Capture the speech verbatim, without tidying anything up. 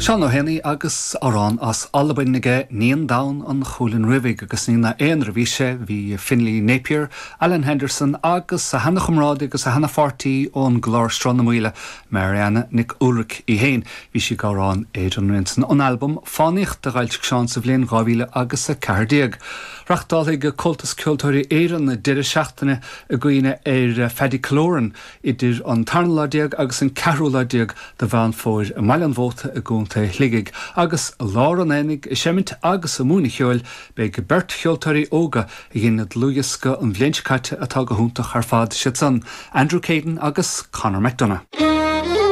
Seán Ó Héanaí agus amhrán as Albain aige Níon Donn an Chuilinn Riabhaigh agus ní ina aonar a bhí sé bhí Finlay Napier, Alan Henderson agus a sheanchomrádaí agus a sheanpháirtí ón gclár Sruth na Maoile, Marianna Nic Ualric í féin, bhí sí ag amhrán ar an san an albam Fánaíocht a d'fhoilsigh Seán sa bhliain dhá mhíle agus a ceathair déag. Reáchtálfaidh Comhaltas Ceoltóirí Éireann deireadh seachtaine i gcuimhne ar Phaddy Killoran idir an tarna lá déag agus an ceathrú lá déag de Mheán Fómhair i mBaile an Mhóta i gContae Shligigh, agus i lár an aonaigh ag seimint agus ag múineadh ceoil beidh beirt cheoltóirí óga a dhein dlúthdhiosca an bhliain seo caite atá go hiontach ar fad siad san, Andrew Caden agus Conor McDonough.